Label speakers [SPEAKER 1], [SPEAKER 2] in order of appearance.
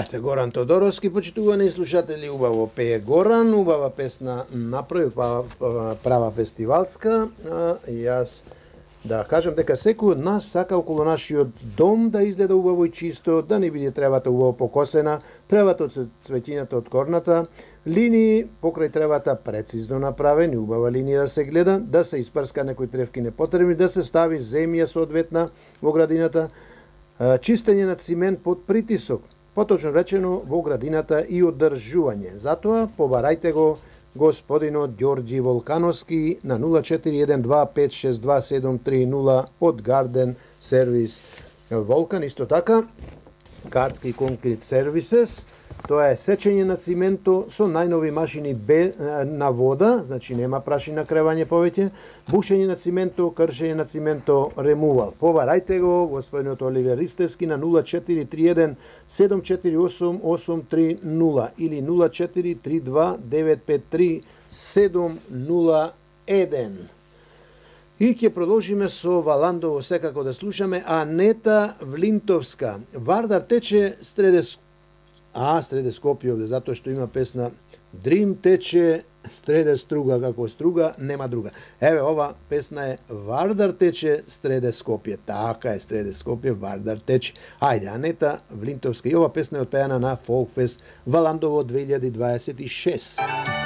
[SPEAKER 1] Ете, Горан Тодоровски, почитувани слушатели, убаво пее Горан, убава песна направи права фестивалска. Јас да кажам дека секој од нас сака околу нашиот дом да изгледа убаво и чисто, да не биде тревата убаво покосена, тревата од цветињата од корната, линии покрај тревата прецизно направени, убава линија да се гледа, да се испрска некои тревки непотребни, да се стави земја соодветна во градината, чистење на цимент под притисок, поточно речено во градината и одржување. Затоа побарајте го господинот Ѓорѓи Волкановски на 0412562730 од Гарден Сервис Волкан. Исто така, Катки Конкрет Сервисес, тоа е сечење на цименто со најнови машини на вода, значи нема прашина кревање повеќе, бушење на цименто, кршење на цименто, ремувал. Побарајте го господинот Оливер Ристевски на 0431748830 или 0432953701. И ќе продолжиме со Валандово секако да слушаме Анета Влинтовска. Вардар тече среде Скопје овде, затоа што има песна Дрим тече среде струга, како струга нема друга. Еве, ова песна е Вардар тече среде Скопје. Така е, среде Скопје, Вардар тече. Ајде, Анета Влинтовска. И ова песна е отпеана на Фолкфест Валандово 2026.